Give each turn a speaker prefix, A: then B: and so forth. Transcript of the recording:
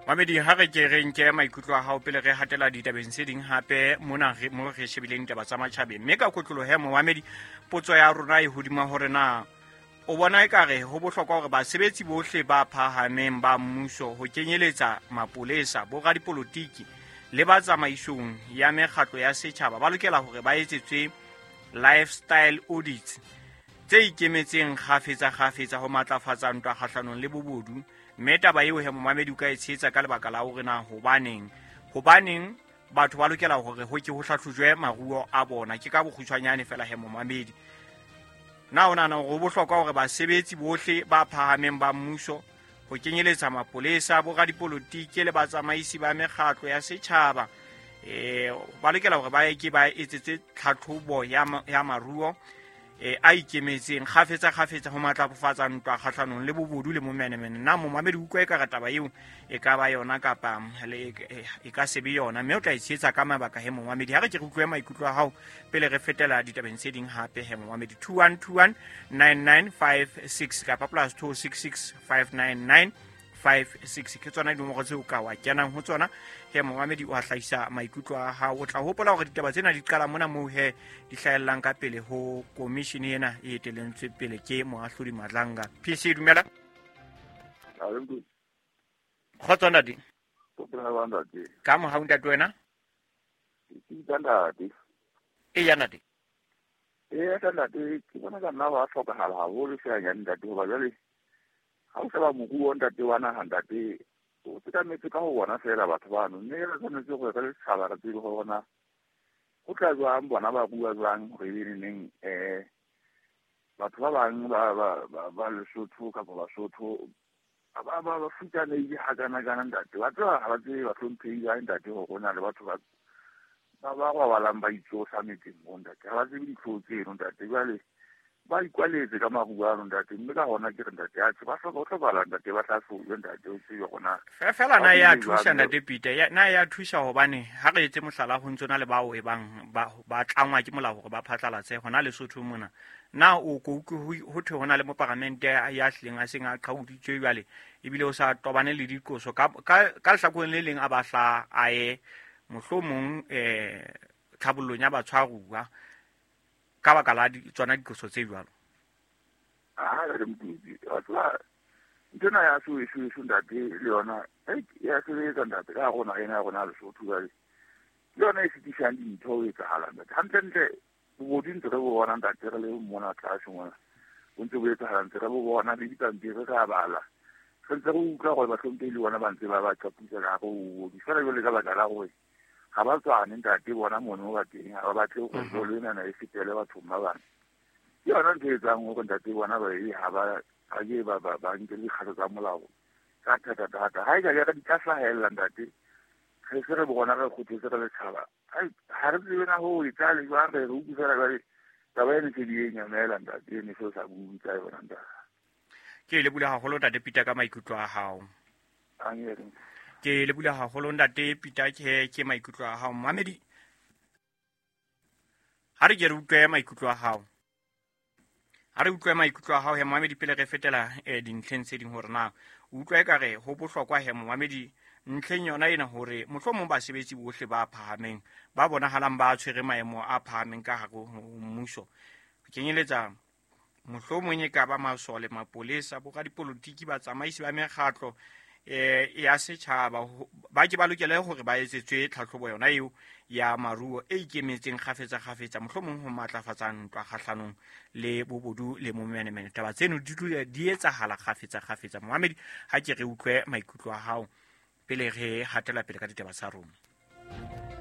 A: Mamedi, ha re ke re nke maikutlo a hao pele re hatela ditabeng tse ding hape mona mo re shebileng ditaba tsa matjhabeng. Mme ka kotloloho he momamedi, potso ya rona e hodima hore na o bona ekare ho bohlokwa hore basebetsi bohle ba phahameng ba mmuso, ho kenyeletsa mapolesa, boradipolotiki le ba tsamaisong ya mekgatlo ya setjhaba, ba lokela hore ba etsetswe lifestyle audits tse ikemetseng kgafetsa-kgafetsa ho matlafatsa ntwa kgahlanong le bobodu. Mme taba eo he momamedi o ka e tshehetsa ka lebaka la hore na hobaneng batho ba lokela hore ho ke ho hlahlojwe maruo a bona. Ke ka bokgutshwanyane fela he momamedi, na o nahana hore ho bohlokwa hore basebetsi bohle ba phahameng ba mmuso, ho kenyeletsa mapolesa, boradipolotiki le batsamaisi ba mekgatlo ya setjhaba, ba lokela hore ba ke ba etsetswe tlhatlhobo ya maruo a ikemetseng kgafetsa kgafetsa ho matlafatsa ntwa kgahlanong le bobodu le momenemene? Na momamedi utlwa e ka re taba eo e ka ba yona kapa e ka se be yona? Mme o tla e tshehetsa ka mabaka he momamedi. Ha re ke re utlwe maikutlo a hao pele re fetela ditabeng tse ding hape he momamedi. 2121 9956 kapa +266 599 56 ke tsona dinomoro tseo ka wa kenang ho tsona he momamedi, o a hlahisa maikutlo a hao. O tla hopola hore ditaba tsena di qala mona moo he di hlahellang ka pele ho komishene ena e etelentswe pele ke moahlodi Madlanga. PC, dumela. Kgotso ntate. Ka mohau ntate, wena? Eya ntate.
B: Ee ka ntate, ke bona ka nna ba hlokahala haholo fela nyane ntate, hoba jwale ha o sheba moruo ntate wa naha ntate, o sekametse ka ho bona fela batho bano, mme re tshwanetse gore re le setjhaba re tsebe gore na ho tla jwang, bona ba rua jwang, hore ebe neneng batho ba bang ba Lesotho kapa Basotho ba futsanehile hakana-kana ntate. Ba tseba ha ba tsebe bahlomphehi ba ntate hore ho na le batho ba robalang ba itsosa metseng mo ntate, ha ba tsebe ditlhoo tseno ntate. Jwale ba ikwaletse ka maruo ano ntate, mme ka hona ke re ntate, atjhe, ba hloka ho hlokahala ntate, ba hlahlojwe ntate, o tsebe gona.
A: Fela na ya thusa ntate Peter? Na ya thusa? Hobane ha re etse mohlala, ho ntse na le bao e bang ba tlangwa ke molao hore ba phatlalatse hona Lesotho mona. Na o ko utlwe ho thwe ho na le moparamente ya hlileng a seng a qhauditswe jwale, ebile o sa tobane le diqoso ka lehlakoreng le leng, a ba hla a ye mohlomong tlhabollong ya batshwaruwa ka baka la tsona diqoso tse jwalo?
B: Ha re mokutsi wa tseba nthwena ya so eso eso ntate, le yona ya sebetsa ntate ka rona ena ya rona Lesotho. Jwale ke yona e fetisang dintho ho etsahala ntate. Hantlentle bobodu ntse re bo bona ntate, re le mona tlase mona bo ntse bo etsahala, ntse re bo bona le dipampiri re a bala, re ntse re utlwa gore bahlomphehi le bona ba ntse ba ba qapisa ka hare ho bobodu fela. Jwale ka baka la gore ga ba tswane ntate, bona mono ba teng ga ba batle gore bolo enana e fetele bathong ba bang. Ke yona ntho e etsang gore ntate bona ba e ga ba ke ba nke dikgato tsa molao ka thata-thata. Ga e ka jaka di tla hlahelela ntate, re se re bona re kgothetse re letšhaba, ga re tsebe na go e tla le jwang. Re utlwe fela jwale taba ene se di e nyamela ntate, ene se o sa bue ka yona ntate.
A: Ke le bula haholo ntate Peter ka maikutlo a hao. Ke le bula haholo ntate Peter, ke maikutlo a hao. Mamedi, ha re ke re utlwe maikutlo a hao, ha re utlwe maikutlo a hao he momamedi pele re fetela dintlheng tse ding, hore na o utlwa ekare ho bohlokwa he momamedi ntlheng yona ena hore mohlomong basebetsi bohle ba phahameng ba bonahalang ba tshwere maemo a phahameng ka hare ho mmuso, ho kenyeletsa mohlomong e ka ba masole, mapolesa, boradipolotiki, batsamaisi ba mekgatlo ya setjhaba, ba ke ba lokele hore ba etsetswe tlhatlhobo yona eo ya maruo e ikemetseng kgafetsa kgafetsa, mohlomong ho matlafatsa ntwa kgahlanong le bobodu le momenemene. Taba tseno di dula di etsahala kgafetsa kgafetsa. Momamedi, ha ke re utlwe maikutlo a hao pele re hatela pele ka ditaba tsa rona.